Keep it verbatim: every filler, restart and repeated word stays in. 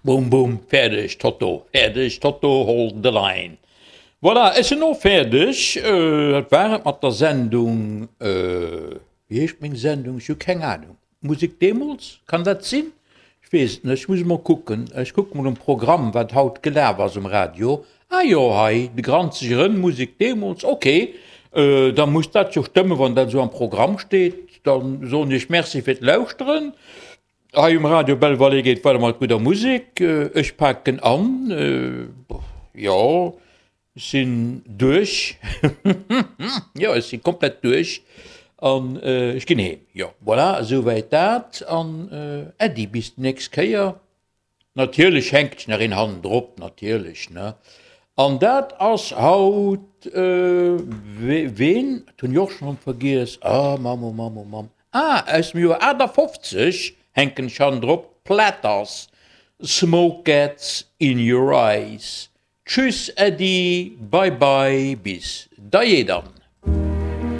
Boom, boom, fäerdeg, Toto, fäerdeg, Toto, hold the line. Voilà, ech sinn och fäerdeg. Dat war et mat der Sendung, wéi heescht meng Sendung? Ech hu keng Anung. Musek deemools, kann dat sinn? Ech weess et net, ech muss emol kucken. Ech kucke mol um Programm, wat haut gelaf ass um Radio. Ah jo, hei, de Granzeg Rënn, Musek deemools, ok. Da muss dat jo stëmmen, wann dat esou am Programm steet. Da soen ech Merci fir d'Lauschteren. Hei um Radio Belval geet weider mat gudder Musek. Ech paken an. Jo, ech sinn duerch. Jo, ech si komplett duerch an ech ginn heem. Jo, voilà, esouwäit dat. An Äddi, bis déi nächst Kéier. Natierlech hänkt nach een hannendrop, natierlech, ne? An dat ass haut, ween? Dat hunn ech och schonn vergiess. Ah, Mamm, oh Mamm, oh Mamm. Ah, aus dem Joer aachtafofzeg hänken ech hannendrop, Platters, Smoke Gets In Your Eyes. Tschüss, Äddi, bye bye, bis dajee dann.